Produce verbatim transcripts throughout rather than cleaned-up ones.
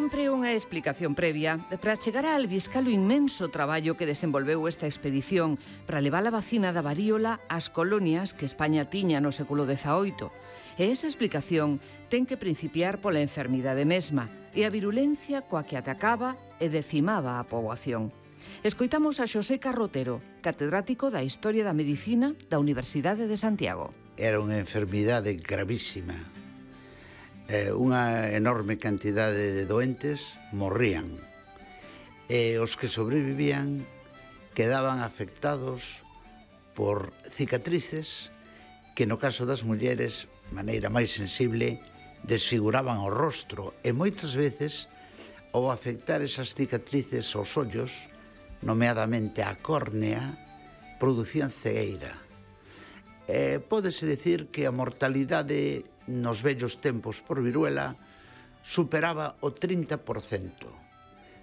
sempre unha explicación previa para chegar a albiscar o inmenso traballo que desenvolveu esta expedición para levar a vacina da varíola ás colonias que España tiña no século dezaoito. E esa explicación ten que principiar pola enfermidade mesma e a virulencia coa que atacaba e decimaba a poboación. Escoitamos a Xosé Carrotero, catedrático da Historia da Medicina da Universidade de Santiago. Era unha enfermidade gravísima. Eh, unha enorme cantidade de doentes morrían e os que sobrevivían quedaban afectados por cicatrices que no caso das mulleres, de maneira máis sensible, desfiguraban o rostro e moitas veces ao afectar esas cicatrices aos ollos, nomeadamente a córnea, producían cegueira. Eh, pódese dicir que a mortalidade nos vellos tempos por viruela superaba o trinta por cento,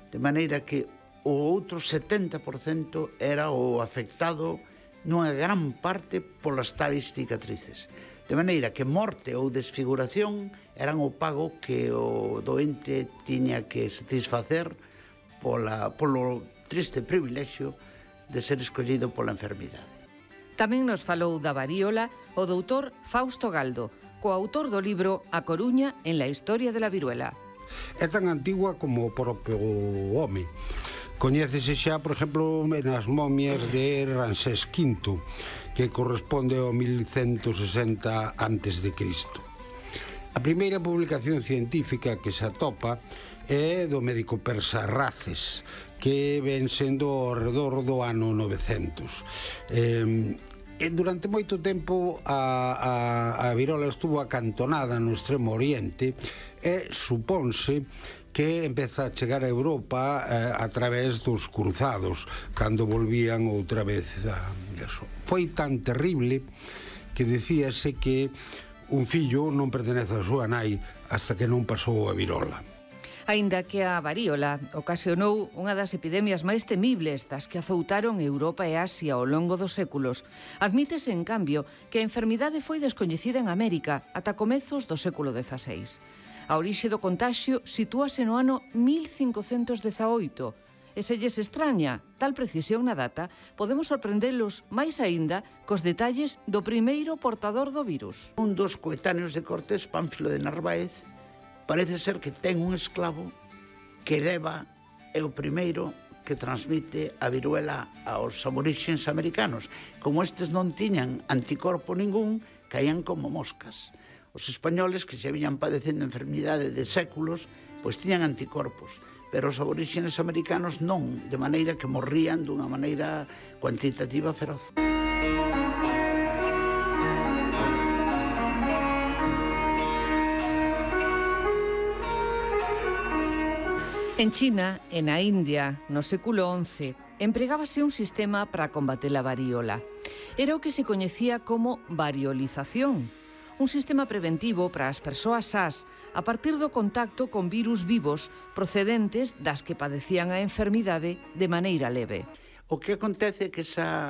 de maneira que o outro setenta por cento era o afectado nunha gran parte polas tais cicatrices, de maneira que morte ou desfiguración eran o pago que o doente tiña que satisfacer pola, polo triste privilexio de ser escollido pola enfermidade. Tamén nos falou da varíola o doutor Fausto Galdo, coautor do libro A Coruña en la historia de la viruela. É tan antigua como o propio home. Coñécese xa, por exemplo, nas momias de Ramsés quinto, que corresponde ao mil cento sesenta antes de Cristo. A primeira publicación científica que se atopa é do médico persa Races, que ven sendo ao redor do ano novecentos. Eh, E durante moito tempo a, a, a virola estuvo acantonada no extremo oriente e supónse que empeza a chegar a Europa eh, a través dos cruzados, cando volvían outra vez a eso. Foi tan terrible que dicíase que un fillo non pertenece a súa nai hasta que non pasou a virola. Aínda que a varíola ocasionou unha das epidemias máis temibles das que azoutaron Europa e Asia ao longo dos séculos, admítese, en cambio, que a enfermidade foi descoñecida en América ata comezos do século dezaseis. A orixe do contaxio sitúase no ano mil cincocentos dezaoito, e se lles extraña tal precisión na data, podemos sorprendelos máis aínda cos detalles do primeiro portador do virus. Un dos coetáneos de Cortés, Pánfilo de Narváez, parece ser que ten un esclavo que leva, é o primeiro que transmite a viruela aos aborixes americanos. Como estes non tiñan anticorpo ningún, caían como moscas. Os españoles, que se viñan padecendo enfermidade de séculos, pois tiñan anticorpos, pero os aborixes americanos non, de maneira que morrían dunha maneira cuantitativa feroz. En China e na India, no século once, empregábase un sistema para combater a varíola. Era o que se coñecía como variolización, un sistema preventivo para as persoas sás a partir do contacto con virus vivos procedentes das que padecían a enfermidade de maneira leve. O que acontece é que esa